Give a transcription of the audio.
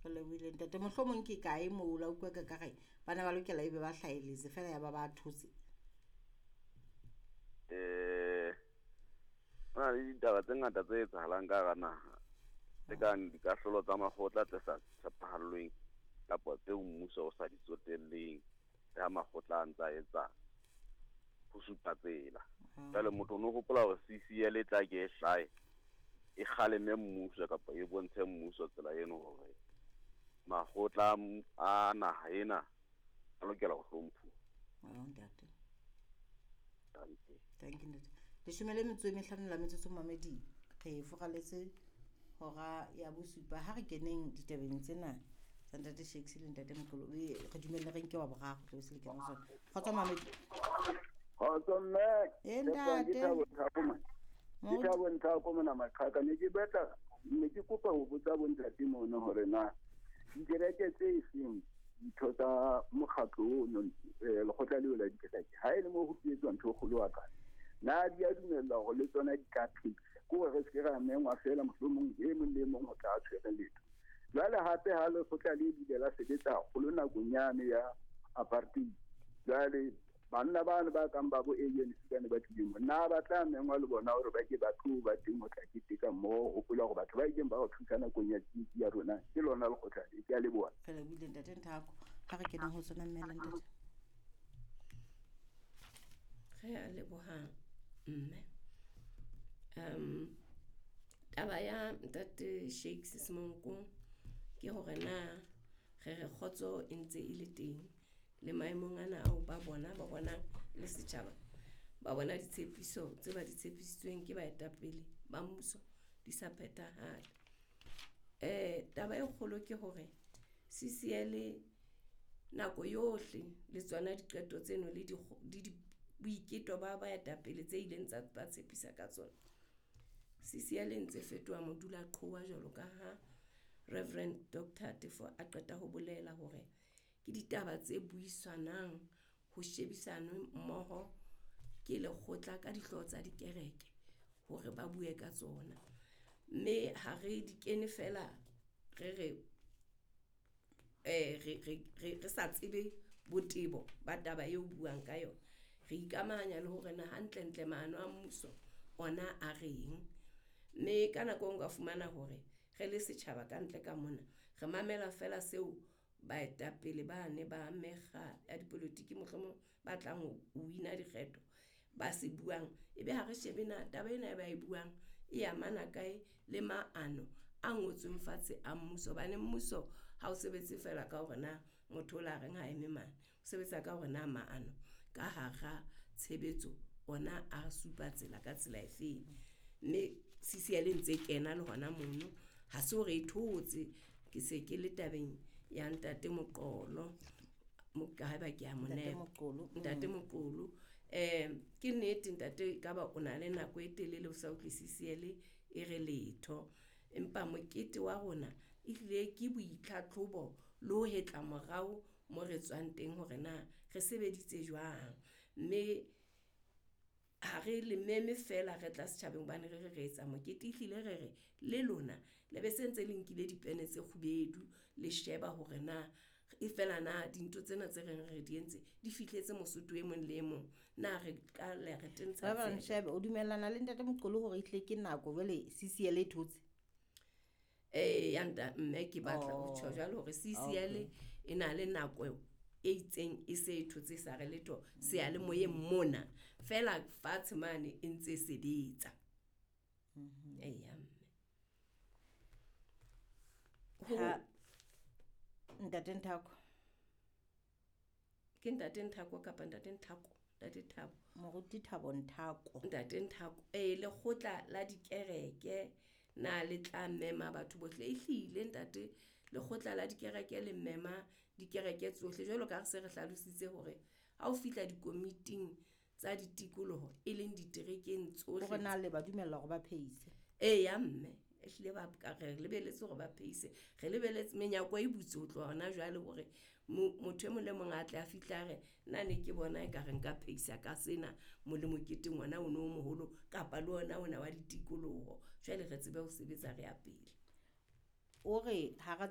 Re lebohile ntate. Mohlomong ke kae moo la utlwa ka kare ba ne ba lokela ebe ba hlahelletse fela ya ba ba thotse? Ho na le ditaba tse ngata tse etsahalang ka hara naha, tse kang dikahlolo tsa makgotla tse sa tshepahallweng kapa tseo mmuso o sa di tsotelleng, le ha makgotla a ntsa etsa ho supa tsela. Jwale motho o no hopola hore CCL e tla ke e hlahe, e kgaleme mmuso kapa e bontshe mmuso tsela eno hore makgotla a naha ena a lokela ho hlomphuwa. Oh, ntate. Dankie. Thank you, ntate. 15 la metsotso mamedi, re furaletse hora ya bosupa. Ha re keneng ditabeng tsena tsa ntate Shakes le ntate Moqolo, re dumelle re nke wa boraro, tle se le kena ho sona. Kgotso mamedi. Kgotso mme. E, ntate. Ke Thabo Nthako mona. Ke Thabo Nthako mona Maqhaka. Ne ke batla, ne ke kopa ho botsa bontate mono hore na dikereke tse seng ditho tsa mokgatlo ono, lekgotla leo la dikereke, ha e le mo ho etswa ntho e kgolo wa ka, na di a dumella hore le tsona di ka phedisa? Ke hore re se ke ra mengwa fela, mohlomong e mong le e mong ho tla tshwere letho. Jwale hape ha lekgotla le bile la sebetsa haholo nakong yane ya apartheid, jwale banna bano ba kang ba bo ANC ba ne ba tlile mo, na ba tla mengwa le bona hore ba ke ba tlo ba teng ho tla keteka mmoho, hopola hore batho ba ileng ba re thusa nakong ya tsietsi ya rona ke lona lekgotla le. Ke a leboha. Re lebohile ntate Nthako. Ha re keneng ho tsona mme le ntate. Re a leboha mme. Taba ya ntate Shakes Semonkong ke hore na re re kgotso e ntse e le teng le maemong ana ao ba bona ba bonang le setjhaba, ba bona ditshepiso tse ba di tshepisitsweng ke baetapele ba mmuso di sa phethahale. Taba e kgolo ke hore CCL nako yohle le tsona diqeto tseno le di boiketo ba baetapele tse ileng tsa ba tshepisa ka tsona. CCL e ntse fetoha modulaqhowa jwalo ka ha Reverend Dr. Tefo a qeta ho bolela hore ke ditaba tse buisanang ho shebisanwe mmoho ke lekgotla ka dihlooho tsa dikereke hore ba bue ka tsona. Mme ha re di kene fela re re re sa tsebe botebo ba taba eo buang ka yona. Re ikamahanya le hore na hantlentle maano a mmuso ona a reng. Mme ka nako e nngwe ka fumana hore re le setjhaba ka ntle ka mona re mamela fela seo baetapele ba ne ba mekga ya dipolotiki mohlomong ba tlang ho wina dikgetho ba se buang, ebe ha re shebe na taba ena e ba e buang e amana kae le maano a ngotsweng fatshe a mmuso. Hobane mmuso ha o sebetse fela ka hore na motho o la reng ha eme mane, o sebetsa ka hore na maano ka hara tshebetso ona a supa tsela ka tsela efeng. Mme CCL e ntse kena le hona mono, ha se hore e thotse. Ke se ke le tabeng ya ntate Moqolo, haeba ke a mo nepa. Ntate Moqolo. Ke nnete ntate ka ba o na le nako e telele o sa utlwe CCL e re letho. Empa mokete wa rona ehlile ke boitlhatlhobo le ho hetla morao mo re tswang teng hore na re sebeditse jwang. Mme ha re le meme fela re tla setjhabeng hobane re re etsa mokete, ehlile re re le lona le be se ntse le nkile dipene tse kgubedu le sheba hore na e fela na dintho tsena tse reng re di entse di fihletse Mosotho e mong le e mong, na re ka le re tentsha. Reverend Shebe, o dumellana le ntate Moqolo hore ehlile ke nako jwale CCL e thotse? Ya nta mme ke batla ho tjho jwalo hore CCL e na le nako e itseng e se e thotse sa re letho seyalemoyeng mona fela fatshe mane e ntse sebetsa. Eya mme. Ha ntate Nthako. Ke ntate Nthako kapa ntate Nthako? Ntate Thabo. Moruti Thabo Nthako. Ntate Nthako. Lekgotla la dikereke na le tla mema batho bohle. Ehlile ntate lekgotla la dikereke le mema dikereke tsohle jwalo ka re se re hlalositse hore ha o fihla dikomiting tsa ditikoloho e leng diterekeng tsohle. Hore na le ba dumella hore ba pheise? Eya mme, ehlile ba ka re lebeletse hore ba pheise. Re lebeletse menyako e butse ho tloha hona jwale hore motho e mong le mong a tle a fihle a re nna ne ke bona ekare nka pheisa ka sena mo le moketeng ona o no moholo kapa le ona ona wa ditikoloho. Jwale re tsebe ho sebetsa re ya pele. O re hara